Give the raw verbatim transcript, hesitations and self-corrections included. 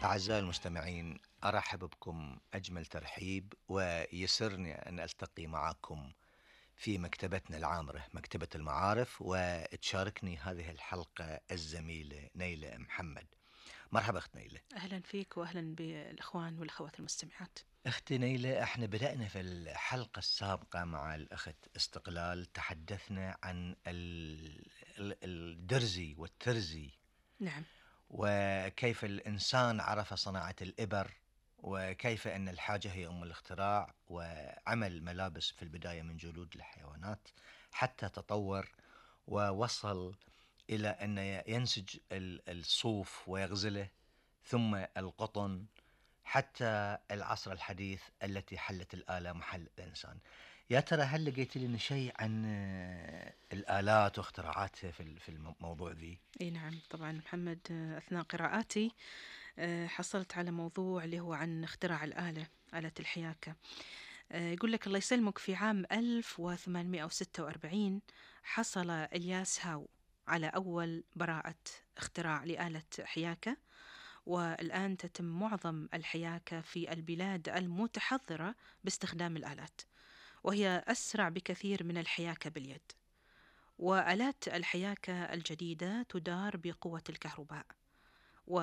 أعزائي المستمعين، أرحب بكم أجمل ترحيب، ويسرني أن ألتقي معكم في مكتبتنا العامرة مكتبة المعارف، وتشاركني هذه الحلقة الزميلة نيلة محمد. مرحبا أخت نيلة. أهلا فيك وأهلا بالإخوان والأخوات المستمعات. أختي نيلة، احنا بدأنا في الحلقة السابقة مع الأخت استقلال، تحدثنا عن الدرزي والترزي. نعم. وكيف الإنسان عرف صناعة الإبر، وكيف أن الحاجة هي أم الاختراع، وعمل ملابس في البداية من جلود الحيوانات حتى تطور ووصل إلى أن ينسج الصوف ويغزله، ثم القطن، حتى العصر الحديث التي حلت الآلة محل الإنسان. يا ترى هل لقيت لنا شيء عن الآلات واختراعاتها في الموضوع ذي؟ اي نعم طبعا محمد، أثناء قراءاتي حصلت على موضوع اللي هو عن اختراع الآلة، آلة الحياكة. يقول لك الله يسلمك، في عام ألف وثمانمائة وستة وأربعين حصل إلياس هاو على أول براءة اختراع لآلة حياكة، والآن تتم معظم الحياكة في البلاد المتحضرة باستخدام الآلات، وهي أسرع بكثير من الحياكة باليد. وآلات الحياكة الجديدة تدار بقوة الكهرباء،